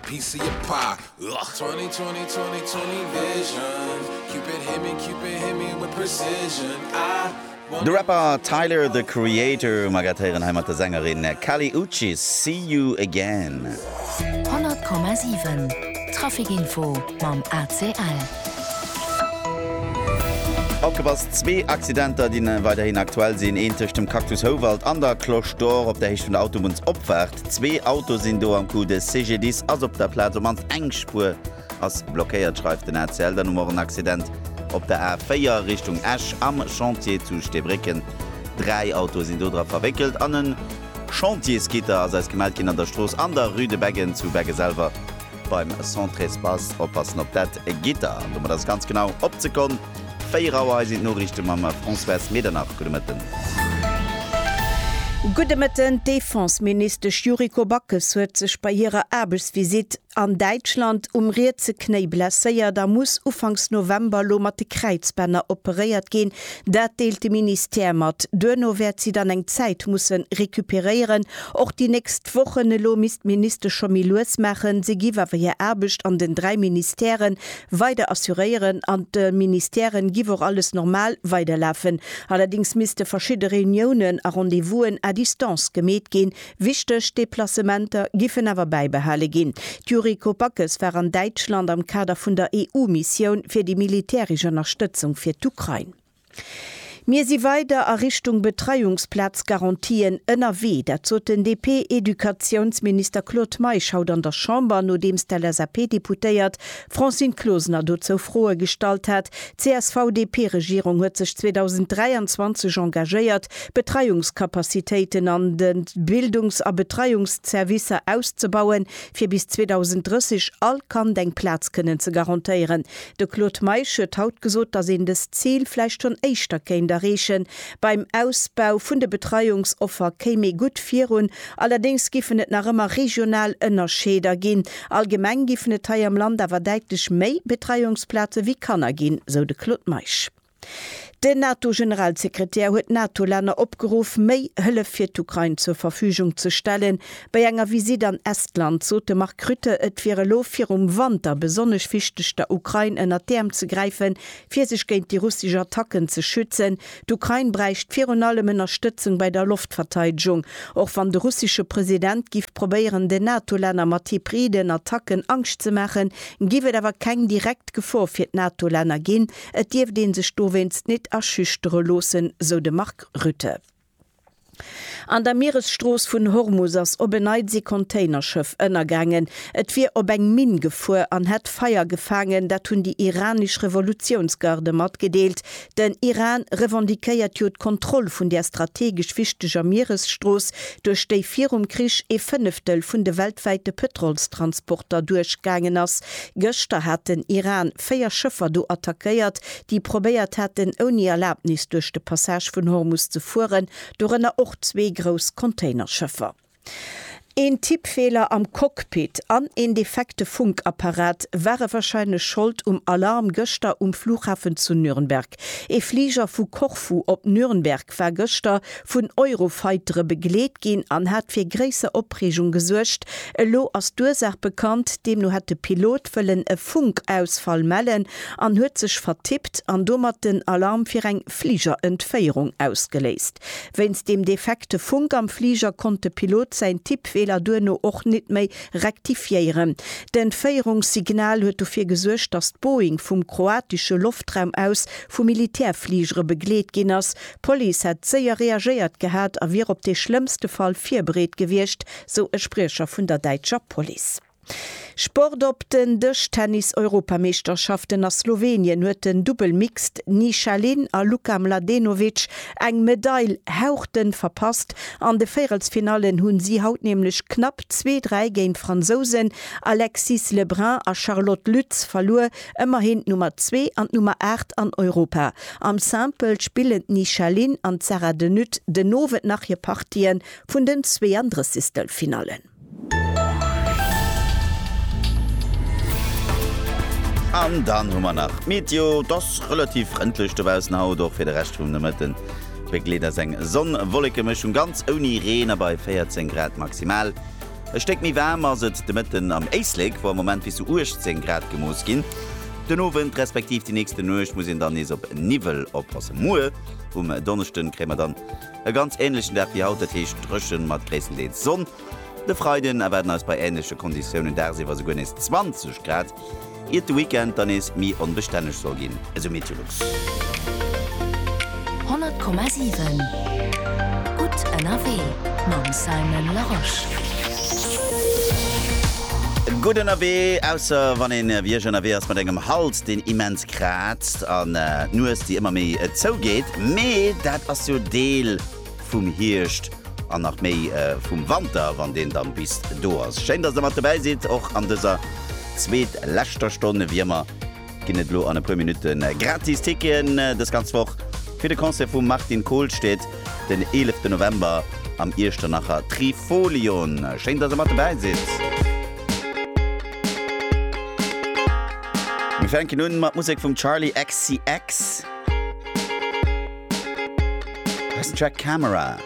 piece of your pie. Ugh. 20, 20, 20, 20 vision. Cupid hit me, Cupid hit me with precision. I De Rapper Tyler, The Creator um Agat héieren hei mat der Sängerin Kali Uchis, See You Again. 100,7 Traficinfo mam ACL. Opgepasst, Zwee Accidenter, déi weiderhin aktuell sinn, een tëscht dem Cactus Houwald an der Cloche d'Or op der Héicht vun der Autobunnsopfaart. Zwee Autoe sinn do am Coup, de CGDIS ass op der Plaz, op mannst eng Spuer ass blockéiert, schreift den ACL. Dann hu mer och en Accident op der A4 Richtung Esch am Chantier zu Steebrécken. 3 Autoe sinn do dra verwéckelt an e Chantiersgitter ass eis gemellt ginn an der Strooss an der Rue de Beggen zu Begge selwer beim Centre-Espace. Oppassen op dat Gitter. An domat ass et ganz genau op d'Sekonn 4 Auer. Hei sinn d'Noriichte mam Françoise Medernach. Gudde Mëtten. Gudde Mëtten. D'Defenseministesch Yuriko Backes huet sech bei hirer Aarbechtsvisitt an Däitschland um rietse Knéi blesséiert a muss ufanks November lo mat de Kräizbänner operéiert ginn. Dat deelt de Ministère mat. Duerno wäert si dann eng Zäit musse recuperéieren. Och déi nächst Wochen elo misst d'Ministesch scho méi lues maachen. Si giff awer hir Aarbecht an den 3 Ministèrë weider assuréieren. An de Ministèren giff och alles normal weiderlafen. Allerdéngs misste verschidde Reuniounen a Rendez-vousen à distance gemeet ginn. Wichteg Deplacementer giffen awer bäibehale ginn. D'Yuriko Backes war an Däitschland am Kader vun der EU-Missioun fir déi militäresch Ënnerstëtzung fir d'Ukrain. Mir si weider a Richtung Betreiungsplazgarantien ënnerwee. Dat sot den DP-Educatiounsminister Claude Meisch haut an der Chamber, nodeems d'LSAP-Deputéiert Francine Closener dozou Froe gestallt hat. D'CSV-DP-Regierung huet sech 2023 engagéiert, Betreiungscapacitéiten an de Bildungs a Betreiungszervicer auszebauen, fir bis 2030 all Kand eng Plaz kënnen ze garantéieren. De Claude Meisch huet haut gesot, datt een dëst Zil vläicht schonn éischter kéint erreechen. Beim Ausbau vun de Betreiungsoffer kéim ee gutt virun, allerdéngs giffen et nach ëmmer regional Ënnerscheeder ginn. Allgemeng giffen et hei am Land awer däitlech méi Betreiungsplaze wéi Kanner ginn, sou de Claude Meisch. Den NATO-Generalsekretär huet d'NATO-Länner opgeruff, méi Hëllef fir d'Ukrain zur Verfügung ze stellen. Bei enger Visitt an Estland sot de Mark Rutte, et wier elo virum Wanter besonnesch wichteg, der Ukrain ënnert d'Äerm ze gräifen, fir sech géint déi russesch Attacken ze schützen. D'Ukrain bräicht virun allem Ënnerstëtzung bei der Loftverteidegung. Och wann de russesche President giff probéieren, den NATO-Länner mat hybriden Attacken Angscht ze maachen, giff et awer keng direkt Gefor fir d'NATO-Länner ginn. Et dierft ee sech dowéinst nit erschüchtere loossen, sou de Mark Rutte. An der Mieresstrooss vun Hormus ass op en Neits ee Containerschëff ënnergaangen. Et wier op eng Minn gefuer an hätt Feier gefaangen, dat hunn déi iranesch Revolutiounsgarde matgedeelt. Den Iran revendiquéiert jo d'Kontroll vun där strategesch wichteger Mieresstrooss, duerch déi virum Krich ee Fënneftel vun de weltwäite Pëtrolstransporter duerchgaangen ass. Gëschter hat den Iran 4 Schëffer do attackéiert, déi probéiert haten, ouni Erlabnis duerch de Passage vun Hormus ze fueren, dorënner och zwee grouss Containerschëffer. Een Tippfeeler am Cockpit an een defekte Funkapparat ware warscheinlech Schold um Alarm gëschter um Flughafen zu Nürnberg. Ee Fliger vu Korfu op Nürnberg war gëschter vun Eurofightere begleet ginn an hat fir gréisser Opreegung gesuergt. Elo ass d'Ursaach bekannt, deemno hätt de Pilot wëllen e Funkausfall mellen an huet sech vertippt an domat den Alarm fir eng Fligerentféierung ausgeléist. Wéinst dem defekte Funk am Fliger konnt de Pilot säin Tippfeeler duerno och nit méi rektifiéieren. D'Entféierungssignal huet dofir gesuergt, datt d'Boeing vum kroatesche Loftraum aus vu Militärfligere begleet ginn ass. D'Police hätt séier reagéiert gehat a wier op dee schlëmmste Fall virbereet gewiescht, sou e Spriecher vun der däitscher Police. Sport Op den Dëschtennis-Europameeschterschaften a Slowenien huet den Dubbel Mixed Nisha Lin a Luka Mladenovic eng Medail hauchdënn verpasst. An de Véierelsfinallen hunn si haut nämlech knapp 2, 3 géint d'Fransousen Alexis Lebrun a Charlotte Lutz verluer. Ëmmerhin d'Nummer 2 an d'Nummer 8 an Europa. Am Simple spillen d'Nisha Lin an d'Sarah de Nutte den Owend nach hir Partien vun den Zweeandrëssigstelfinallen. An dann hu mer nach d'Meteo, Et ass relativ frëndlech dobaussen haut, och fir de Rescht vum Nomëtten begleet eis eng Sonn-Wolleke-Mëschung, ganz ouni Reen a bei 14 Grad maximal. E Stéck méi waarm ass et de Mëtten am Éislek, wou am Moment bis zu 18 Grad gemooss ginn. Den Owend respektiv déi nächste Nuecht muss een dann nees op Niwwel oppassen. Muer um Donneschden kréie mer dann e ganz änlechen Dag wéi haut, dat heescht dréchen mat gréisstendeels Sonn. De Freiden erwaarden eis bei änleche Konditiounen dagsiwwer esouguer nees 20 Grad. Iert de Weekend dann nees méi onbestänneg soll ginn, esou Meteolux. 100,7 Gutt ënnerwee mam Simon Larosche. Gutt ënnerwee, ausser wann een wéi ech ënnerwee ass mat engem Hals deen immens kraazt an d'Nues déi ëmmer méi zougeet. Mee dat ass jo Deel vum Hierscht an nach méi vum Wanter, wann deen dann bis do ass. Schéin, dass der mat dobäi sidd, och an dëser zweet leschter Stonn. Wéi ëmmer ginn et elo an e puer Minutte gratis Ticketen dës ganz Woch fir de Concert vum Martin Kohlstedt den 11 November am Iechternacher Trifolion. Schéin, dass der mat dobäi sidd. Mir fänken un mat Musek vum Charli XCX. Hei ass den Track Camera.